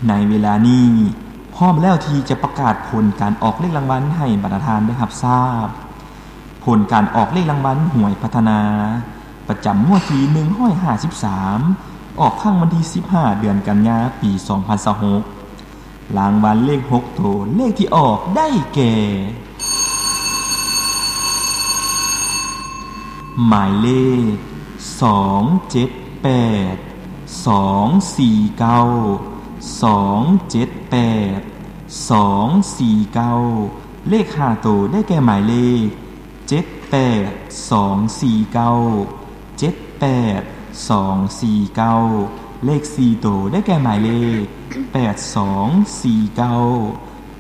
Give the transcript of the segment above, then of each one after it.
ໃນເວລານີ້ ພ້ອມແລ້ວທີ່ຈະປະກາດຜົນການອອກເລກລາງວັນໃຫ້ບັນດາທ່ານໄດ້ຮັບຊາບ. ຜົນການອອກເລກລາງວັນຫວຍພັດທະນາ ປະຈຳງວດທີໜຶ່ງຮ້ອຍຫ້າສິບສາມ ອອກຄັ້ງວັນທີສິບຫ້າ ເດືອນກັນຍາ ປີສອງພັນຊາວຫົກ. ລາງວັນເລກຫົກໂຕ ເລກທີ່ອອກໄດ້ແກ່ ໝາຍເລກ ສອງເຈັດແປດ ສອງສີ່ເກົ້າ ສອງເຈັດແປດ ສອງສີ່ເກົ້າ. ເລກຫ້າໂຕ ໄດ້ແກ່ໝາຍເລກ ເຈັດແປດສອງສີ່ເກົ້າ ເຈັດແປດສອງສີ່ເກົ້າ. ເລກສີ່ໂຕ ໄດ້ແກ່ໝາຍເລກ ແປດສອງສີ່ເກົ້າ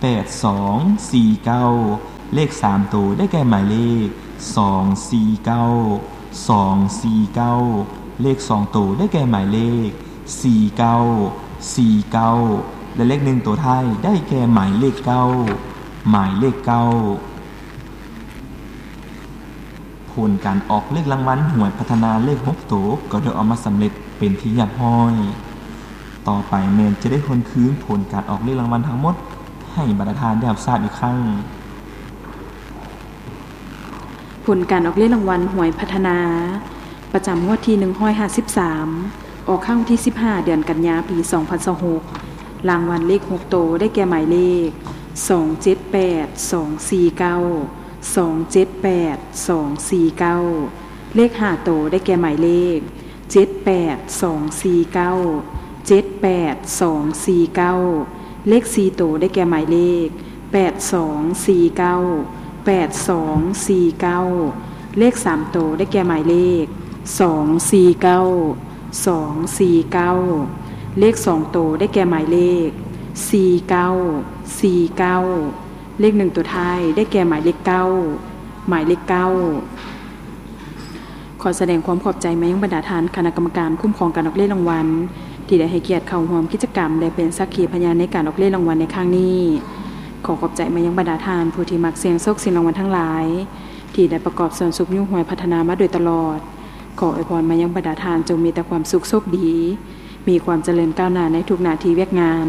ແປດສອງສີ່ເກົ້າ. ເລກສາມໂຕ ໄດ້ແກ່ໝາຍເລກ ສອງສີ່ເກົ້າ ສອງສີ່ເກົ້າ. ເລກສອງໂຕ ໄດ້ແກ່ໝາຍເລກ ສີ່ເກົ້າ ສີ່ເກົ້າ ແລະ ເລກໜຶ່ງໂຕທ້າຍ ໄດ້ແກ່ໝາຍເລກເກົ້າ ໝາຍເລກເກົ້າ. ຜົນການອອກເລກລາງວັນຫວຍພັດທະນາເລກຫົກໂຕ ກໍໄດ້ອອກມາສຳເລັດເປັນທີ່ຮຽບຮ້ອຍ. ຕໍ່ໄປແມ່ນຈະໄດ້ທວນຄືນຜົນການອອກເລກລາງວັນທັງໝົດ ໃຫ້ບັນດາທ່ານໄດ້ຮັບຊາບອີກຄັ້ງ. ຜົນການອອກເລກລາງວັນຫວຍພັດທະນາ ປະຈຳງວດທີໜຶ່ງຮ້ອຍຫ້າສິບສາມ ອອກຄັ້ງວັນທີສິບຫ້າ ເດືອນກັນຍາ ປີສອງພັນຊາວຫົກ. ລາງວັນເລກຫົກໂຕ ໄດ້ແກ່ໝາຍເລກ ສອງເຈັດແປດສອງສີ່ເກົ້າ ສອງເຈັດແປດສອງສີ່ເກົ້າ. ເລກຫ້າໂຕ ໄດ້ແກ່ໝາຍເລກ ເຈັດແປດສອງສີ່ເກົ້າ ເຈັດແປດສອງສີ່ເກົ້າ. ເລກສີ່ໂຕ ໄດ້ແກ່ໝາຍເລກ ແປດສອງສີ່ເກົ້າ ແປດສອງສີ່ເກົ້າ. ເລກສາມໂຕ ໄດ້ແກ່ໝາຍເລກ ສອງສີ່ເກົ້າ ສອງສີ່ເກົ້າ. ເລກສອງໂຕ ໄດ້ແກ່ໝາຍເລກ ສີ່ເກົ້າ ສີ່ເກົ້າ. ເລກໜຶ່ງໂຕທ້າຍ ໄດ້ແກ່ໝາຍເລກເກົ້າ ໝາຍເລກເກົ້າ. ຂໍສະແດງຄວາມຂອບໃຈມາຍັງບັນດາທ່ານຄະນະກຳມະການຄຸ້ມຄອງການອອກເລກລາງວັນ ທີ່ໄດ້ໃຫ້ກຽດເຂົ້າຮ່ວມກິດຈະກຳ ແລະ ເປັນສັກຂີພະຍານໃນການອອກເລກລາງວັນໃນຄັ້ງນີ້. ຂໍຂອບໃຈມາຍັງບັນດາທ່ານຜູ້ທີ່ມັກສ່ຽງໂຊກສ່ຽງລາງວັນທັງຫຼາຍ ທີ່ໄດ້ປະກອບສ່ວນຊຸກຍູ້ຫວຍພັດທະນາມາໂດຍຕະຫຼອດ. ຂໍອວຍພອນມາຍັງບັນດາທ່ານຈົ່ງມີແຕ່ຄວາມສຸກໂຊກດີ, ມີຄວາມຈະເລີນກ້າວໜ້າໃນທຸກໜ້າທີ່ວຽກງານ.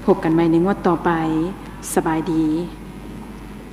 ພົບກັນໃໝ່ໃນງວດຕໍ່ໄປ. ສະບາຍດີ.